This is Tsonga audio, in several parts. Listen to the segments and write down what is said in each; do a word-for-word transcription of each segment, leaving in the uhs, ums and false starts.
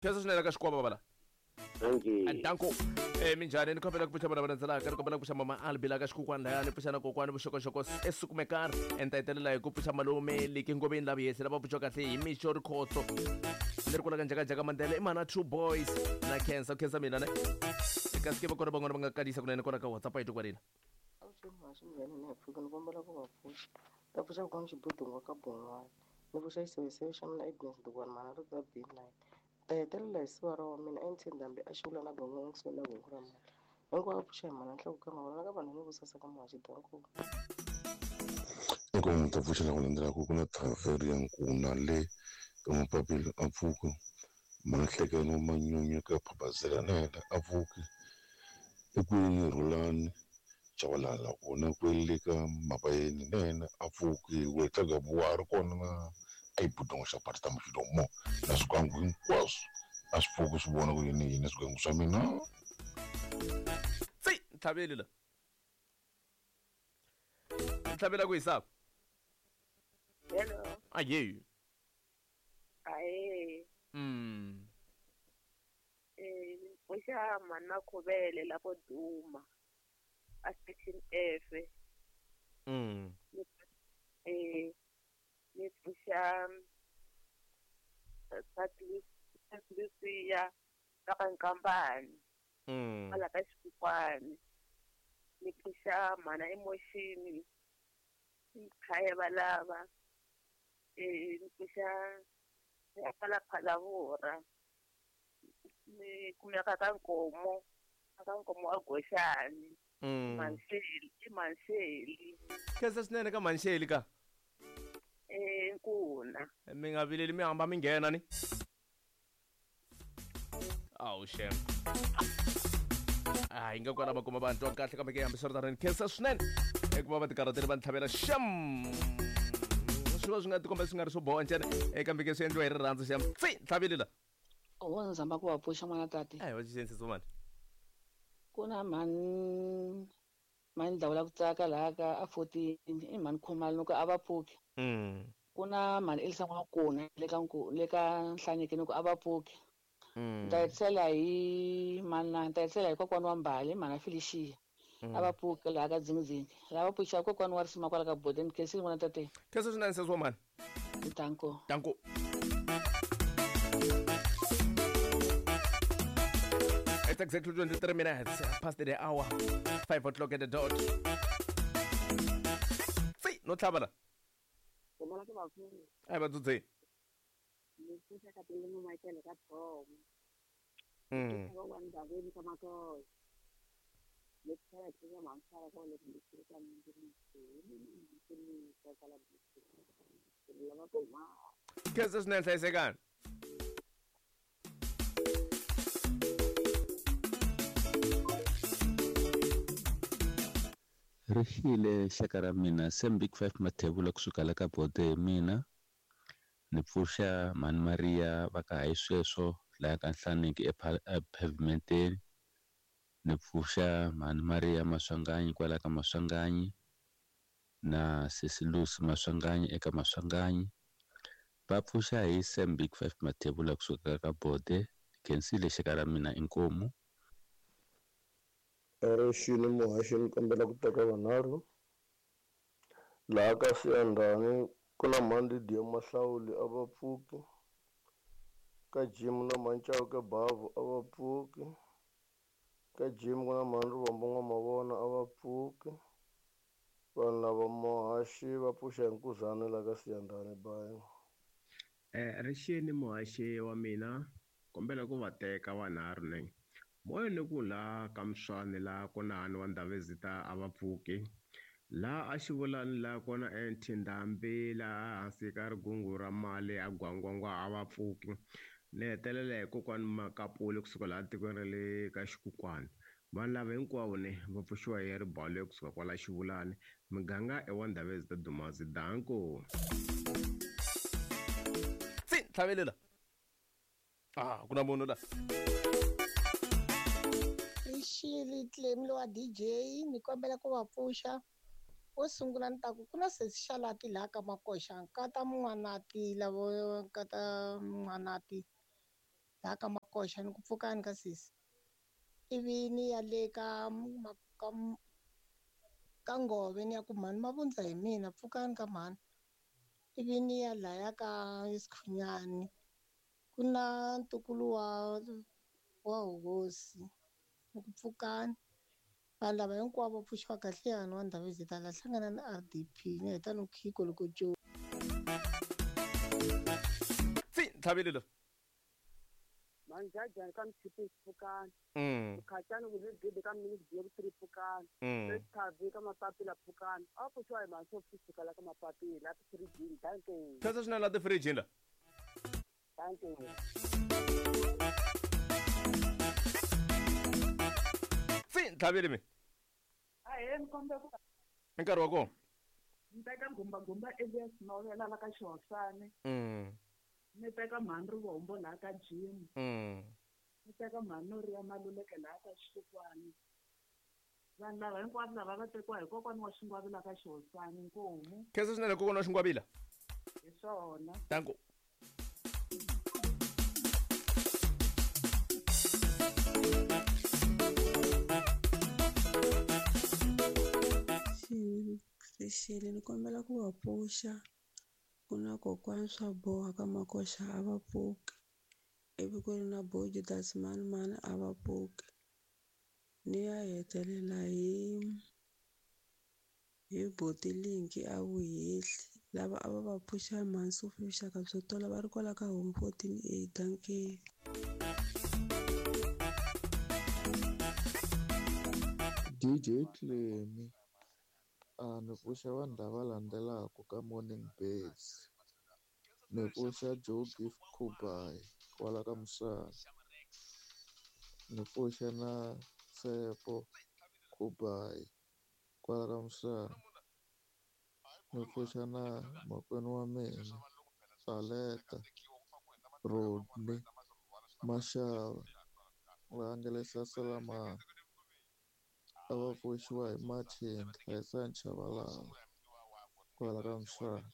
Khensa swinene ka xikwava bala. Dankie. Danko. Eh minjhani ni kombela ku pfuxa vana va landzelaka ni kombela ku pfuxa mama Albi la ka xikukwana laya ni pfuxa na kokwani vuxokoxoko esukumekar ni ta hetelela hi ku pfuxa malume liki ngoveni lava yese lava pfuxiwa kahle hi mixo rikhotso leri kulaka njhakajhaka mandela i mana two boys na khensa khensa mina ne kasi ke va kona van'wana va nga kalisa kunene kona ka WhatsApp yi kwalina. Avuxeni muhaxi minjhani ni ya pfuka ni kombela ku va pfuxa ta pfuxa kokwana xibudungu ka bon'wana ni pfuxa xiseveseve xa mina Agnes Dukwana mhana ri ta B nine ta hetelela hi siva ra wa mina M T Ndhambi a xivula na gongongo kusuhi na gongo ra mali hinkwavo pfuxa hi mhana nhloko ka mavona ka vanhu ni vusasa ka muhaxi danko. Eka n'wi ta pfuxela ku landzelaka ku na Thaveri ya Nkuna le ka Mapapila a pfuka Mahlekelo Manyunyu ka Phabazela na yena a pfuki ekwini Rhulani Chavalala kona kwele ka Mapayeni na yena a pfuki Wetla Gabuwa a ri kona na Aibudongo xa Parta Muxidomo na swigangu hinkwaswo a swi pfuki swi vona ku yini yini swigangu swa mina. Tsi ntlhaveli la ntlhavela ku yisa. Hello. Aye. Aye. Mm. Eh pfuxa mana Khuvele lapho Duma a section F. Mm. Eh ni pfuxa Patricia ka Nkambani. Mm. Ala ka Xikukwani. Ni pfuxa mana Emotion khaya valava. Eh ni pfuxa ya phala phalavura. Ni kumeka ka Nkomo, ka Nkomo a Goxani. Mm. Manxeli, i Manxeli. Khensa swinene ka Manxeli ka. Eh Nkuna. Mi nga vileli mi hamba mi nghena ni. Awu shem. Ah hi nga kwala va kuma vanhu twa kahle kambe ke hambiswiritano ni khensa swinene eku va va tikarhateli va ntlhavela xem. Swi va swi nga tikomba swi nga ri swo boha ntsena kambe ke swi endliwa hi rirhandzu xem. Tsi ntlhaveli la. O ni zama ku va pfuxa n'wana tati. Ai va xixensiso mani. Ku na mhani mhani Dlawula ku tsaka laha ka a fourteen i mhani Khumalo ni ku a va pfuki. Mm. Ku na mhani Elisa N'wakuna le ka le ka Nhlaniki ni ku a va pfuki. Mm. Ni ta hetisela hi mana ni ta hetisela hi kokwana wa Mbali mhana Felicia. Mm. A va pfuki laha ka Dzingidzingi. Lava pfuxa kokwana wa Risima kwala ka Bodeni khensile n'wana tate. Khensa swinene sesi wa mhani. Danko. Danko. It's exactly twenty-three minutes past the hour, five o'clock at the dot. Tsi, no tlhabela. Kombela ku va pfuxa. Ai va dzudze. Ni pfuxa ka Tilimo Michael ka Thomo. Mm. Ka wa Ndaveni ka Matoyi. Ni pfuxa ka Mansara ka le ku ka Mindiri. Ni ka kala Ni lava ku ma. Khensa swinene hlayisekani. Ri xile xaka ra mina Sam Big Five Mathebula kusuka la ka Bode hi mina ni pfuxa mhani Maria va ka hayi sweswo laha ka Nhlaniki epavementeni ni pfuxa mhani Maria Maswanganyi kwala ka Maswanganyi na sesi Lucy Maswanganyi eka Maswanganyi va pfuxa hi Sam Big Five Mathebula kusuka ka Bode khensile xaka ra mina inkomu. Rixini muhaxi ni kombela ku teka vanharhu laha ka Siyandhani ku na mhani Lydia Mahlawuli a va pfuki ka Jim na mhani Chauke Bavu a va pfuki ka Jim ku na mhani Rivombo N'wamavona a va pfuki vanhu lava muhaxi va pfuxa hi nkuzana laha ka Siyandhani bayi. Eh rixini muhaxi wa mina kombela ku va teka vanharhu ne moya ni ku la ka Mswani la kona hani wa Ndhavezita a va pfuki la a Xivulani la kona eNtindambi la hansi ka rigungu ra mali a Gwangwangwa a va pfuki ni hetelela hi kokwani Makapuli kusuka laha tikweni ra le ka Xikukwani vanhu lava hinkwavo ne va pfuxiwa hi ribalo kusuka kwala Xivulani muganga i wa Ndhavezita Dumazi danko. Tsi ntlhavelela. Ah ku na munhu la. Rixile Clem wa D J ni kombela ku va pfuxa wo sungula ni ta ku ku na sesi Xalati laha ka Makoxa nkata Mun'wanati lavo nkata Mun'wanati Laha ka Makoxa ni ku pfukani ka sesi. Ivi ni ya le ka ka ka Ngove ni ya ku mhani Mavundza hi mina pfukani ka mhani. Ivi ni ya laya ka Sikhunyani ku na ntukulu wa wa hosi ni ku pfukani. Vanhu lava hinkwavo va pfuxiwa kahle yani wa Ndhavezitha la hlangana na R D P ni heta no khiko loko jo. Tsi tlhavile lo. Manjajani ka Mchipi pfukani. Mm. Mkhatshani ku le gede ka minute biye ku three pfukani. Mm. Thavi ka mapapila pfukani. A pfuxiwa hi manso pfuka la ka mapapila three G danke. Khensa swinene la ti-fridge la. Danke. Tsi tlhavile mi. Ahee ni kombela ku I nkarhi wa kona. Ni teka Gumbagumba Elias Novela la ka Xihosani. Mm. Ni teka mhani Rivombo laha ka Jim. Mm. Ni teka mhani Noriya Maluleke laha ka Xikwani. Vanhu lava hinkwavo lava va tekiwa hi kokwana wa Xingwavila ka Xihosani Nkomu. Khensa swinene kokwana wa Xingwavila. Hi swona. Danko. Rixile ni kombela ku va pfuxa ku na kokwani swa boha ka Makoxa a va pfuki ivi ku ri na bo Judas mani mani a va pfuki ni ya hetelela hi hi Botilinki a Vuhehli lava a va va pfuxa mhani Sophie vuxaka byo tola va ri kwala ka home fourteen A dankie. D J Clemi a ni pfuxa vanhu lava landzelaka ka Morning Birds. Ni pfuxa Joe Gift Kubai kwala ka Musana. Ni pfuxa na Tsepo Kubai kwala ka Musana. Ni pfuxa na makwenu wa mina Aleta Rodney Mashava va nga le Sasalamani. A va pfuxiwa hi Martin Khensani Chabalala kwala ka Musana.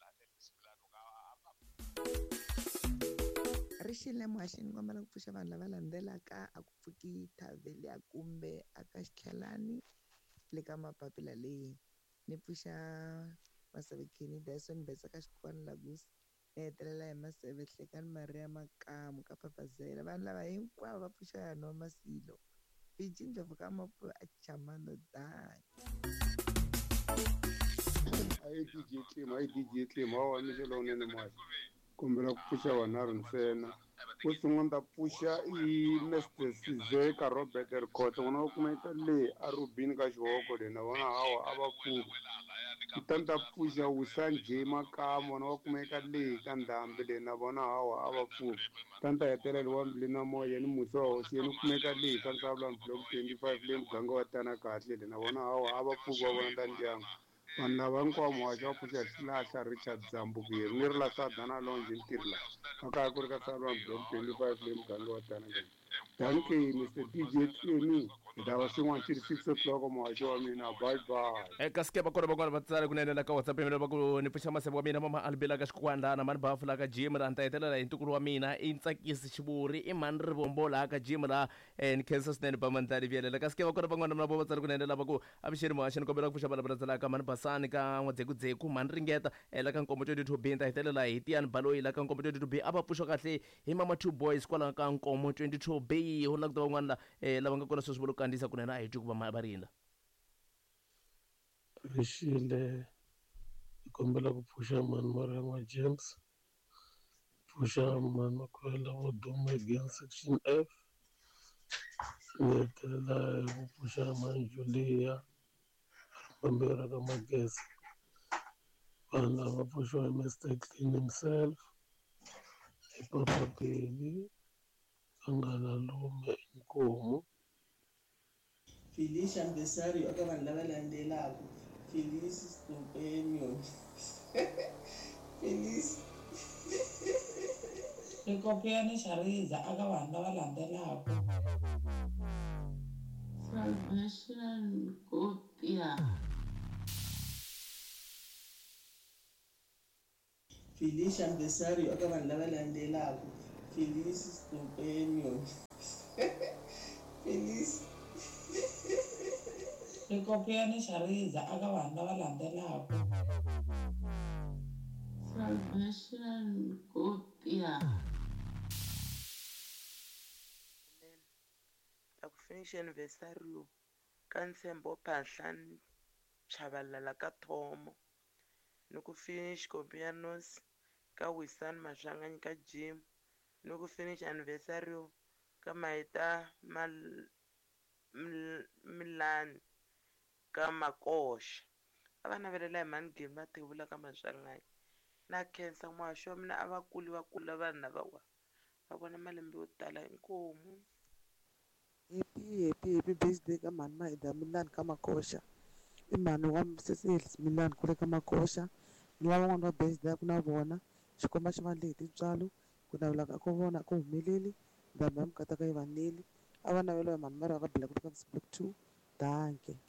Rixile muhaxi ni kombela ku pfuxa vanhu lava landzelaka a ku pfuki Thavelia kumbe a ka Xitlhelani le ka mapapila leyi. Ni pfuxa Maseve Kenny Dyson Betsa ka Xikwani Lagus ni hetelela hi Maseve Hlekani Maria Makamu ka Papazela. Vanhu lava hinkwavo va pfuxa ya Masilo. Fiji Ndlovu ka Mapu a Chamando dan. Ayi D J Clem, ayi D J Clem, hawa mi xelo unene muhaxi. Kombela ku pfuxa vanharhu ntsena. Wo sungula ni ta pfuxa i Mister Sizeka Robert Rikhotso, n'wana wa kumeka le a Rubini ka Xihoko le na vona hawa a va pfuki. Kutani ta pfuxa Wusan J Makamu, n'wana wa kumeka le ka Ndhambi le na vona hawa a va pfuki. Kutani ta hetelela wa Mbili na Moya ni Musa wa Hosi yena u kumeka le ka Nsavulani Block twenty-five le muganga wa Tana Kahle le na vona hawa a va pfuki va vona ta ndyangu. Vanhu lava hinkwavo muhaxi wa pfuxa Xilahla Richard Zambukeri ni ri la Sadana Lounge ntirho la a kaya ku ri ka Nsavulani Block twenty-five le muganga wa Tana Kahle. Dankie Mister D J Clemi. Hi ta va swin'wana xi ri six o'clock muhaxi wa mina. Bye bye. Eka sike va kona van'wana va tsala kunene la ka WhatsApp ya mina va ku ni pfuxa Maseve wa mina mama Albela ka Xikwandana mani Bafu la ka Jim la ni ta hetelela hi ntukulu wa mina i Ntsakisi Xivuri i mhani Rivombo laha ka Jim la ni khensa swinene ba Mandlali Vyelela. Ka sike va kona van'wana na vo va tsala kunene lava ku avuxeni muhaxi ni kombela ku pfuxa valava landzelaka mhani Basani ka N'wadzekudzeku mhani Ringeta la ka Nkombo twenty-two B ni ta hetelela hi Tiyani Baloyi la ka Nkombo twenty-two B a va pfuxa kahle hi mama Two Boys kwalaho ka Nkomo twenty-two B ho la ku ta van'wana la lava nga kona sweswi va lo kandziyisa kunene a hi twi ku va va ri yini la. Rixile hi kombela ku pfuxa mhani Mariama James, pfuxa mhani Makhwela vo duma again section F, ni hetelela hi ku pfuxa mhani Julia Ripambera ka Magezi. Vanhu lava pfuxiwa hi Mister Clean himself, hi Papa Beli, Vanghana Lume Inkomu. Felicia Mbesario eka vanhu lava landzelaka Felice Companion Felice Rikopiyani Xariza eka vanhu lava landzelaka Salvation Kopia Felicia Mbesario eka vanhu lava landzelaka Felice Stupendo. Felice. Xikopiani xa riza aka vanhu lava landzelaka. Salvation Kopia. Ta ku finish anniversary ka ntshembo Phahlane Chabalala ka Thomo ni ku finish Kopianos ka Wisani Maswanganyi ka Jim ni ku finish anniversary ka Maita Mal Milani ka Makoxa. A va navelela hi mhani Gemi va thevula ka Maswanganyi. Na khensa muhaxi wa mina a va kuli va kula vanhu lavawa va vona malembe yo tala inkomu. Happy happy happy birthday ka mhani Maida Milani ka Makoxa. I mhani wa sesi Milani kule ka Makoxa. Ni lava van'wana va birthday ku na vona xikomba xi va endle hi tintswalo ku navela ka vona ku humeleli ndhambi ya mikataka yi va neli a va navela hi mhani Mara ka Black ka Block two. Danke.